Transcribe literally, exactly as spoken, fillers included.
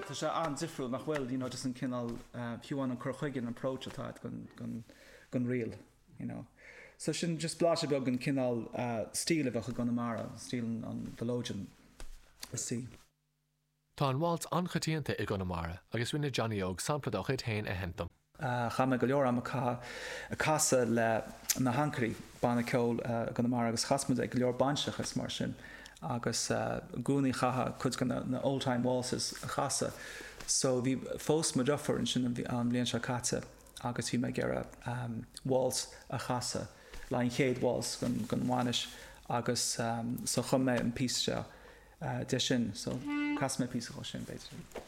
Tá sé an-difriúil nach bhfuil you know, just an cineál uh, fiú an cur chuige an approach atá gon gon gon ríl. You know. So sin just blaiseadh beag an cineál uh, stíl a bheadh i gConamara, stíl an mhelodeon is sí. Tá an waltz an-choitianta i gConamara agus rinne Johnny Óg sampla dá chuid féin a sheinnt dom. Uh, Chaith mé go leor am ag casadh le na hAncairí banna ceoil uh, Conamara agus chas muid ag go leor bainseacha is mar sin agus uh, gúnaí chaha chud go na, na old-time waltzes a chasadh. So bhí phós mo dheirfiúr ansin an an bhliain seo caite agus bhí mé ag iarraidh um, waltz a chasadh le an chéad waltz gon, gon bhainis agus um, so chum mé an píosa seo uh, de sin, so chas mé píosa sin b'fhéidir.